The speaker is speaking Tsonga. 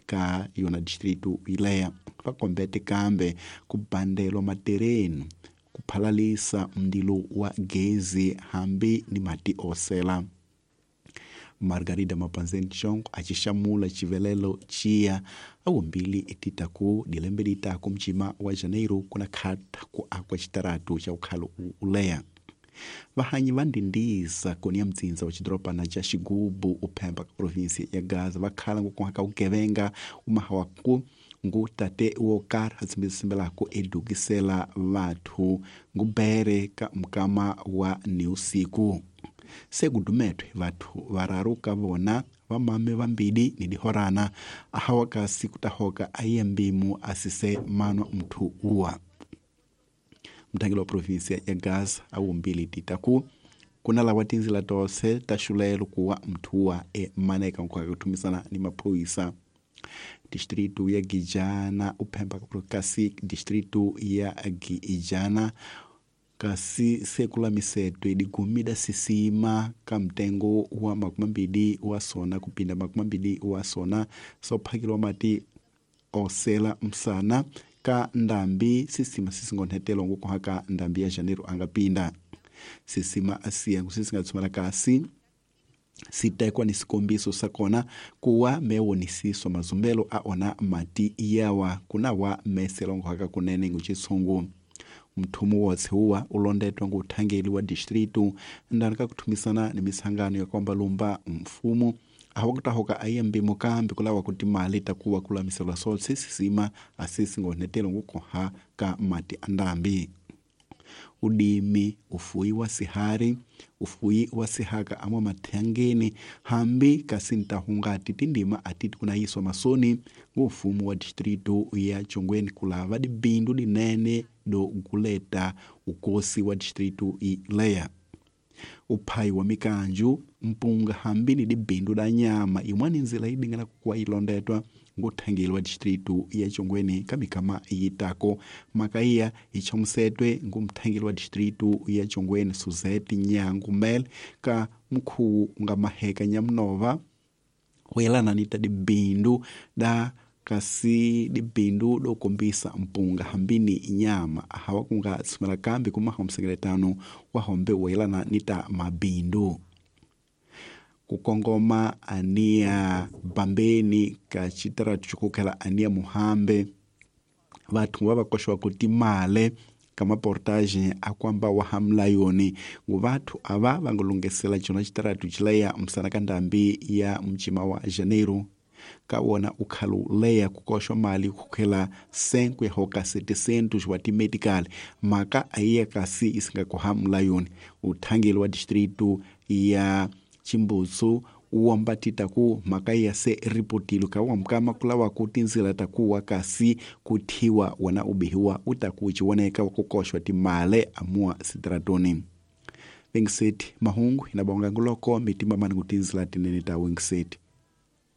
ka yona distritu ileya va kombete kambe ku bandelwa matereni ku phalalisa mndilo wa gezi hambi ni mati osela. Margarida Mapanzeni Chongo acixamula xivelelo xiya awumbili etitaku dilembe litaku mcima wa Janeiro kuna khata ku akwa xitaratu xa ukhalo uleya. Vahanyi va ndindisa koni ya mtsindza wa xidorobana xa Xigubu uphemba ka provinsi ya Gaza va khala ngokuha ka vugevenga umahawaku ngu tate wo karhi a tsimbisimbelako edukisela vathu ngubere ka mukama wa niusiku. Se kudumetwe vathu vararu ka vona vamame vambili ni dihorana ahawa kasi kutahoka aiye mbimu asise manwa mthu uwa. Mthangeli wa provinsia ya Gaza awumbili titaku kuna lawa tinzila tose ta xulelo kuwa mthu emaneka nkuhaka kuthumisana ni maphoyisa. Distritu ya Gijana uphemba kasi distritu ya Gijana kasi sekulamisetwe digumida sisima ka mtengo wa 20 wa sona kupinda 20 wa sona sophakilwa mati osela msana ka ndambi sisima sisingonhetelo ngukuhaka ndambi ya Janeiro angapinda sisima asiya ngusisingatsumala kasi sitekwa ni sikombiso sakona kuwa mewonisiswa mazumbelo aona mati yawa kunawa meselongohaka kunene nguchitsungu. Mthumu wotse uwa ulondetwa nguthangeli wa distritu ndani ka kuthumisana ni misangano ya kwamba lumba mfumo awakutahoka aiye mbimo kambi kulawa kuti mali takuwa kulamiselwa sotse sisima asisingonhetelo ngukoha ka mati andambi. Udimi ufuyi wa sihari ufuyi wa sihaka amwa mathangeni hambi kasi ntahungati tindima atiti kunayiswa masoni ngufumu wa distritu ya Chongweni kulava dibindu dinene do guleta ukosi wa distritu ileya. Uphayi wa mikanju mpunga hambi ni dibindu da nyama imwani nzila idingana kukuwa ilondetwa nguthangeli wa distritu ya Chongweni kamikama yitako makaiya ichomusetwe ngumthangeli wa distritu ya Chongweni Suzette Nyangu Mel ka mkhuwu nga maheka nyamnova huyelana ni ta dibindu da kasi dibindu dokombisa mpunga hambini nyama hawa kunga tsumela kambi kumaha msengeletano wa hombe wayelana ni ta mabindu. Kukongoma ania bambeni ka chitaratu chikukhela ania muhambe vathu va vakoxwa kuti male ka maportage akwamba wa hamlayoni ngu vathu ava va nga lungesela cona chitaratu chileya msana ka ndambi ya mcima wa Janeiro ka wona ukhalu leya kukoxwa mali khukhela 5 ya hoka 700 wa timedical maka aiya kasi isingakoha mlayoni. Uthangeli wa distritu ya Chimbutsu uwamba titaku maka ya se ripotilo ka wamkama kulawa kutinzila takuwa kasi kuthiwa wana ubihiwa utaku chiwoneka wakukoxwa timale amua sitratoni. Wingseti mahungu inabonga nguloko mitima mani kutinzila tinene ta Wingseti.